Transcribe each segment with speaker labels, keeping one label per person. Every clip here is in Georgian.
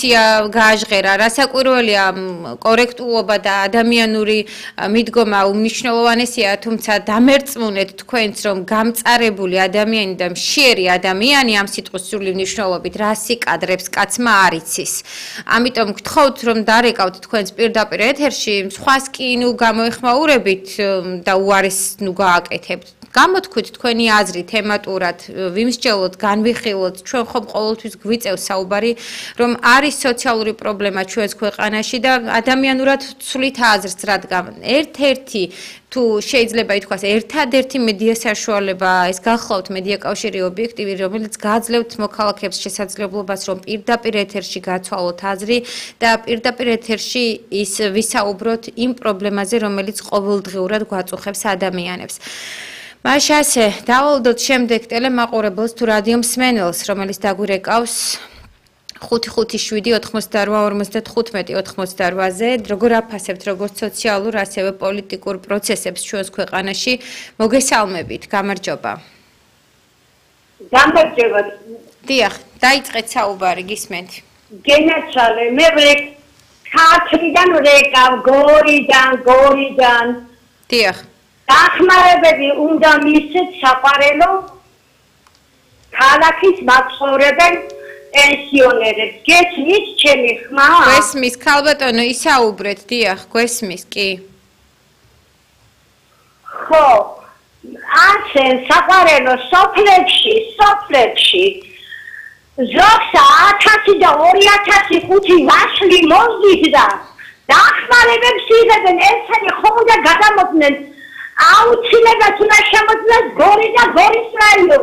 Speaker 1: დისკუსია გააჟღერა, რასაკვირველია კორექტულობა და ადამიანური მიდგომა უმნიშვნელოვანესია, თუმცა დამერწმუნეთ თქვენც, რომ გამწარებული ადამიანი და მშიერი ადამიანი ამ სიტყვის სრული მნიშვნელობით რასი კადრებს კაცმა არ იცის. ამიტომ გთხოვთ, რომ დარეკავთ თქვენს პირდაპირ ეთერში, სხვას კი გამოეხმაურებით და უარეს გააკეთებთ. გამოთქვით თქვენი აზრი თემატურად, ვიმსჯელოთ, განვიხილოთ, ჩვენ ხომ ყოველთვის გვიწევს საუბარი, რომ არის სოციალური პრობლემა ჩვენს ქვეყანაში და ადამიანურად ვცვლით აზრს, რადგან ერთ-ერთი თუ შეიძლება ითქვას, ერთადერთი მედია საშუალება, ეს გახლავთ მედია კავშირი ობიექტივი, რომელიც გააძლევთ მოქალაქეებს შესაძლებლობას, რომ პირდაპირ ეთერში გაცვალოთ აზრი და პირდაპირ ეთერში ის ვისაუბროთ იმ პრობლემაზე, რომელიც ყოველდღიურად გვაწუხებს ადამიანებს. მაშ ასე, დავალოდოთ შემდეგ ტელემაყურებელს თუ რადიო მსმენელს, რომელიც დაგვირეკავს 557-88-55-88-ზე, როგორ აფასებთ როგორც სოციალურ, ასევე პოლიტიკურ პროცესებს ჩვენს ქვეყანაში, მოგესალმებით, გამარჯობა.
Speaker 2: გამარჯობა.
Speaker 1: დიახ, დაიწყეთ საუბარი, გისმენთ.
Speaker 2: გენაცვალე, მე ქართლიდან ვრეკავ, გორიდან.
Speaker 1: დიახ.
Speaker 2: დახმარებები უნდა მისცეთ საყარელო ქალაქის მაცხოვრებელ პენსიონერებს. გესმის ჩემი ხმა?
Speaker 1: გვესმის, ქალბატონო, ისაუბრეთ, დიახ, გვესმის, კი.
Speaker 2: ხო, ასე საყარელო სოფლებში ზოგს 1000 და 2005 ვაშლი მოздით და დახმარებებს იღებენ, ესენი ხომ უნდა გადამოწნენ აუცილებლად უნდა შემოწმდეს გორი და გორის რაიონი.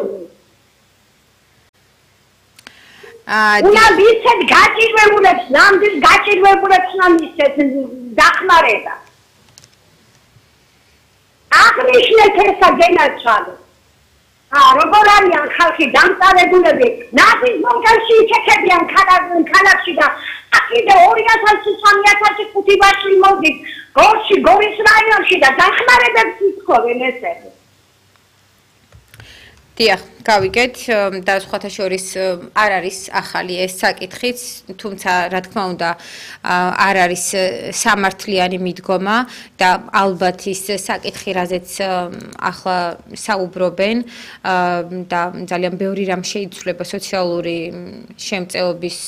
Speaker 2: უნდა მისცეთ გაჭირვებულებს, ნამდვილ გაჭირვებულებს უნდა მისცეთ დახმარება. აღნიშნეთ ესა გენაცვალე. როგორ არიან ხალხი დამწარებულები, ნაზის მომგანში იქექებიან ქალაქში და კიდე 2000-3000 ვაშლი მოდით გორში, გორის რაიონში და დახმარებებს ითხოვენ ესენი.
Speaker 1: დიახ, გავიგეთ და სხვათა შორის არ არის ახალი ეს საკითხიც, თუმცა რა თქმა უნდა არ არის სამართლიანი მიდგომა და ალბათ ის საკითხი, რაზეც ახლა საუბრობენ და ძალიან ბევრი რამ შეიცვლება სოციალური შემწეობის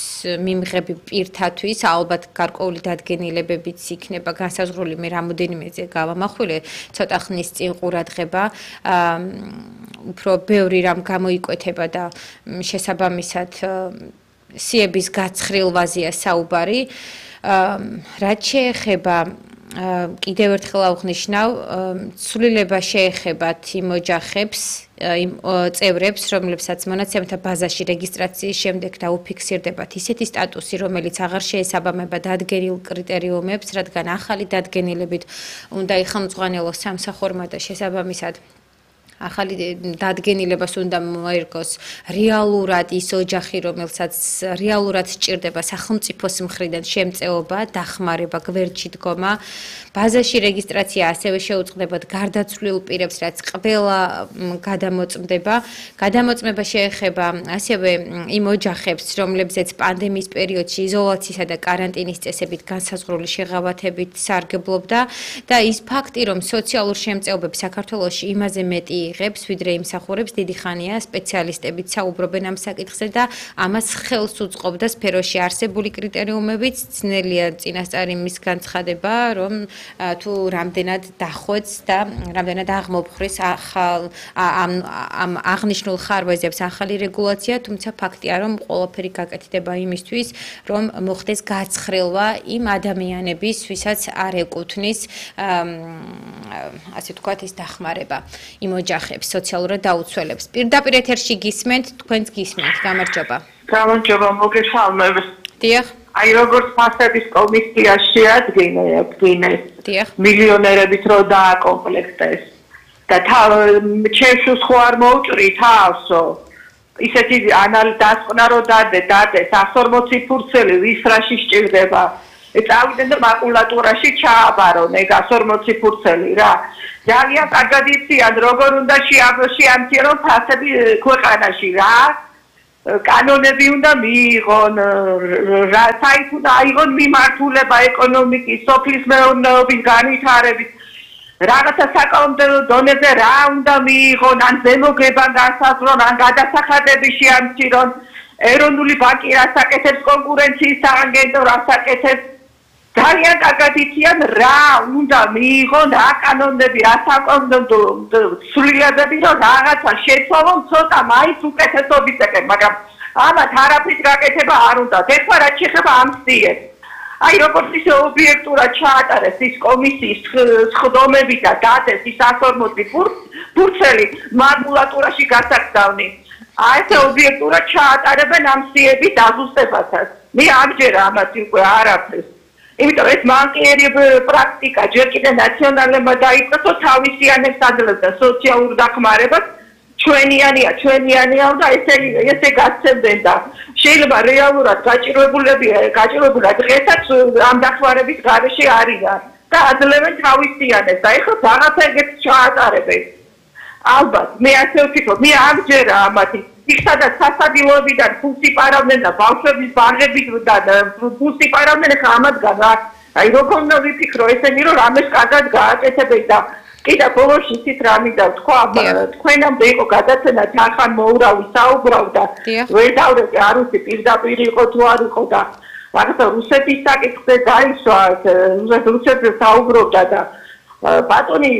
Speaker 1: მიმღები პირთათვის, ალბათ გარკვეული დადგენილებებიც იქნება განსაზღვრული, მე რამოდენიმეზე გავამახვილე, ცოტა ხნის წინ ყურადღება, უფრო ბევრი რამ გამოიკვეთება და შესაბამისად სიების გაცხრილვაზეა საუბარი. რაც შეეხება კიდევ ერთხელ აღვნიშნავ, ცვლილება შეეხებათ იმ ოჯახებს, იმ წევრებს, რომლებსაც მონაცემთა ბაზაში რეგისტრაციის შემდეგ დაუფიქსირდებათ ისეთი სტატუსი, რომელიც აღარ შეესაბამება დადგენილ კრიტერიუმებს, რადგან ახალი დადგენილებით უნდა იხელმძღვანელოს სამსახურმა და შესაბამისად ახალი დადგენილებას უნდა მოერგოს რეალურად ის ოჯახი, რომელსაც რეალურად სჭირდება სახელმწიფოს მხრიდან შემწეობა, დახმარება, გვერდში დგომა. ბაზაში რეგისტრაცია ასევე შეუწყდებათ გარდაცვლილ პირებს, რაც ყველა გადამოწმდება. გადამოწმება შეეხება ასევე იმ ოჯახებს, რომლებზეც პანდემიის პერიოდში იზოლაციისა და კარანტინის წესებით განსაზღვრული შეღავათებით სარგებლობდა და ის ფაქტი, რომ სოციალურ შემწეობებს საქართველოში იმაზე მეტი იღებს, ვიდრე იმსახურებს, დიდი ხანია სპეციალისტებიც საუბრობენ ამ საკითხზე და ამას ხელს უწყობდა სფეროში არსებული კრიტერიუმებიც, ძნელია წინასწარ იმის განცხადება, რომ თუ რამდენად დახვეწ და რამდენად აღმოფხრის ამ აღნიშნულ ხარვეზებს ახალი რეგულაცია, თუმცა ფაქტია, რომ ყველაფერი გაკეთდება იმისთვის, რომ მოხდეს გაცხრილვა იმ ადამიანების, ვისაც არ ეკუთვნის ასე ვთქვათ, ის დახმარება იმ ოჯახებს, სოციალურად დაუცველებს. პირდაპირ ეთერში გისმენთ, თქვენც გისმენთ. გამარჯობა.
Speaker 3: გამარჯობა, მოგესალმებით.
Speaker 1: დიახ.
Speaker 3: აი როგორც ფასების კომისია შეადგინეს მილიონერებით რო დააკომპლექტეს და ჩემს ხო არ მოუჭრი თავსო ისეთი დასკვნა რო დადეს 140 ფურცელი ვის რაში სჭირდება წავიდენ და მაკულატურაში ჩააბარონ ეგ 140 ფურცელი რა ძალიან კარგად იციან როგორ უნდა შეამცირონ ფასები ქვეყანაში რა კანონები უნდა მიიღონ, საით უნდა აიღონ მიმართულება ეკონომიკის, სოფლის მეურნეობის განვითარების, რაღაცა საკანონმდებლო დონეზე რა უნდა მიიღონ, ან ზემოგება განსაზღვრონ, ან გადასახადები შეამცირონ, ეროვნული ბანკი რას აკეთებს, კონკურენციის სააგენტო რას აკეთებს, ძალიან კარგად იციან რა უნდა მიიღონ, რა კანონები, რა საკანონმდებლო ცვლილებები, რომ რაღაცა შეცვალონ ცოტა მაინც უკეთესობის ეკენ, მაგრამ ამათ არაფრის გაკეთება არ უნდა. ეხლა რაც შეეხება ამ სტიებს. აი როგორც ისე ობიექტურად ჩაატარეს ის კომისიის სხდომები და დადეს ის 140 ფურცელი მაკულატურაში გასაკდავნი. აი ეს ობიექტურად ჩაატარებენ ამ სტიების დაზუსტებასაც. მე ამჯერა ამათ უკვე არაფერს. იმიტომ ეს მანკიერი პრაქტიკა ჯერ კიდე ნაციონალებმა დაიწყო თავისიანებს აძლევდა სოციალურ დახმარებას ჩვენიანია და ესე გაცემდნენ და შეიძლება რეალურად გაჭირვებულად დღესაც ამ დახმარების გარეშე არიან და აძლევენ თავისიანებს და ეხლა რაღაცა ეგეთს ჩაატარებენ. ალბათ მე ასე ვფიქრობ, მე ამჯერა ამათი იქ სადაც სასადილოებიდან ფულს იპარავდნენ და ბავშვების ბაღებით და ფულს იპარავდნენ, ხა ამათგან აი როგორ უნდა ვიფიქრო ესენი რომ რამეს კარგად გააკეთებენ და კიდე ბოლოს ისიც რა მინდა თქვა, თქვენამდე იყო გადაცემა თანხან მოურავი საუბრობდა, ვერ დავდები არ ვიცი პირდაპირ იყო თუ არ იყო და რაღაცა რუსეთის საკითხზე დაისვა, რუსეთზე საუბრობდა და ბატონი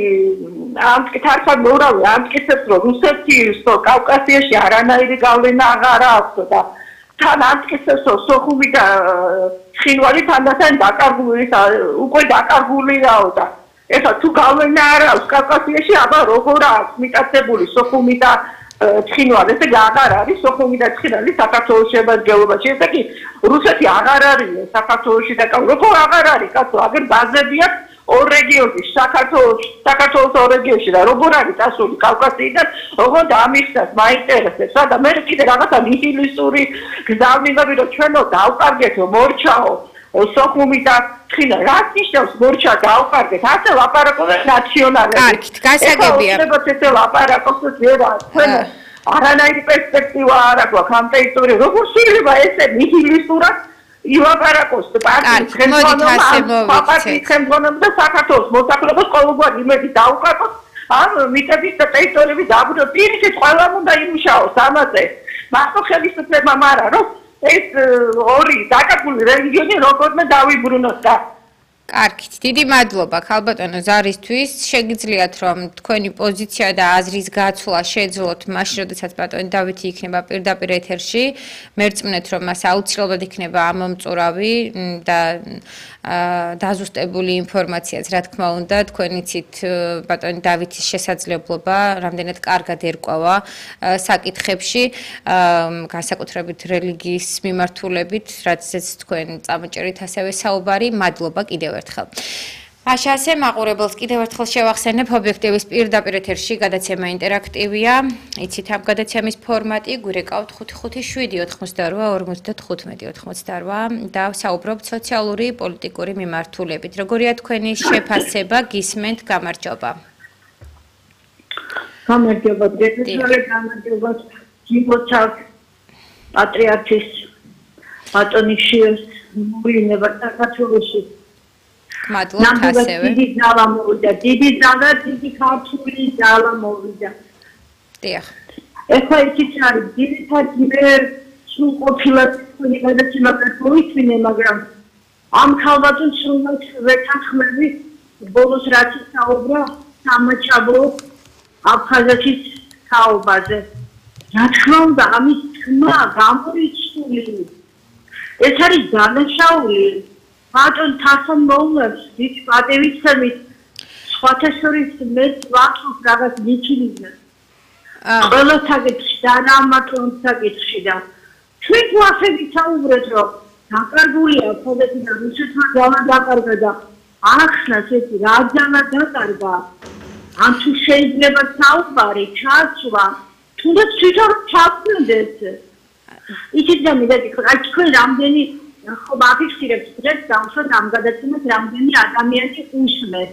Speaker 3: ამ თანხან მოურავი ამტკიცებს რომ რუსეთის კავკასიაში არანაირი გავლენა აღარ აქვს და თან ამტკიცებს რომ სოხუმი და ცხინვალი თანდათან უკვე დაკარგულია და ეხლა თუ გავლენა არ აქვს კავკასიაში, აბა როგორ აქვს მიტაცებული სოხუმი და ცხინვალი, ესე აღარ არის სოხუმი და ცხინვალი საქართველოს შემადგენლობაში, ესე კი რუსეთი აღარ არის საქართველოში და როგორ აღარ არის კაცო, აგერ ბაზები აქვს ორ რეგიონში, საქართველოს ორ რეგიონში და როგორ არის წასული კავკასიიდან, როგორ დამიხსნას, მაინტერესებს და მე კიდე რაღაცა ნიჰილისტური გზავნილები რომ ჩვენო დავკარგეთო, მორჩაო სოხუმი და ცხინა, რაც ნიშნავს მორჩა დავკარგეთ, ასე ლაპარაკობენ ნაციონალები.
Speaker 1: კარგით, გასაგებია.
Speaker 3: ესე ლაპარაკობს ვერა, ჩვენო არანაირი პერსპექტივა არ აქვს ამ ტერიტორიაზე. როგორ შეიძლება ესე ნიჰილისტურად ილაპარაკოს პარტიის ხელმძღვანელობა და საქართველოს მოსახლეობას ყოველგვარი იმედი დაუკარგოს ამ მიწების და ტერიტორიების დაბრუნებას. პირიქით ყველამ უნდა იმუშაოს ამაზე. მარტო ხელისუფლებამ არა, რომ ეს ორი დაკარგული რეგიონი როგორმე დავიბრუნოს და
Speaker 1: კარგით, დიდი მადლობა ქალბატონო ზარისთვის. შეგიძლიათ რომ თქვენი პოზიცია და აზრის გაცვლა შეძლოთ მაშინ, როდესაც ბატონი დავითი იქნება პირდაპირ ეთერში. მერწმუნეთ რომ მას აუცილებლად იქნება ამომწურავი და დაზუსტებული ინფორმაციაც, რა თქმა უნდა, თქვენ იცით ბატონი დავითის შესაძლებლობა რამდენად კარგად ერკვევა საკითხებში, განსაკუთრებით რელიგიის მიმართულებით, რაცაც თქვენ წამოჭერით ასევე საუბარი. მადლობა კიდევ ერთხელ. Așa მაყურებელს კიდევ ერთხელ შევახსენებ ობიექტივის პირდაპირ ეთერში გადაცემა ინტერაქტივია. იცით ამ გადაცემის ფორმატი გვირეკავთ 557-88-55-88 და საუბრობთ სოციალური პოლიტიკური მიმართულებით. როგორია თქვენი შეფასება, გისმენთ, გამარჯობა.
Speaker 2: გამარჯობა, გამარჯობა. ჯიბოჩავ პატრიარქის ბატონი შიოს მოვინება საქართველოში.
Speaker 1: მადლობა ასევე.
Speaker 2: დიდი ძალა, დიდი ქართული ძალა მოვიდა.
Speaker 1: დიახ.
Speaker 2: ეხლა ისიც არის, ძირითადად მე სულ ყოფილად თქვენი გადაცემა გავიწმინე, მაგრამ ამ ქალბატონს სულაც ვეთანხმები, ბოლოს რაც საუბრა სამაჩაბლო აფხაზეთის თაობაზე. რა თქმა უნდა, ამის თქმა გამორიცხული. ეს არის დანაშაული. ბატონ თასონ მოულებს ის პატივისცემით სხვათა შორის მეც ვახსოვს რაღაც გიჩინიძე. ყველა საკითხში და რამატონ საკითხში და ჩვენ თუ ასე ვისაუბრეთ რომ დაკარგულია ფოდეთი და რუსეთმა ძალა დაკარგა და ახსნას ეს რა ძალა დაკარგა ან თუ შეიძლება საუბარი ჩაცვა თუნდაც თვითონ ჩაგვდეს ისიც დამიდეთ აი თქვენ რამდენი ხო ვაფიქსირებთ დღეს დავუშვათ ამ გადაცემას რამდენი ადამიანი უშმეს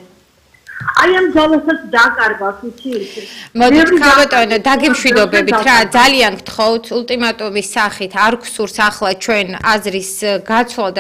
Speaker 4: აი ამ ძალასაც დაკარგავს იცი
Speaker 1: მოდით ქალბატონო დაგემშვიდობებით რა ძალიან გთხოვთ ულტიმატუმის სახით არ გსურს ახლა ჩვენ აზრის გაცვლა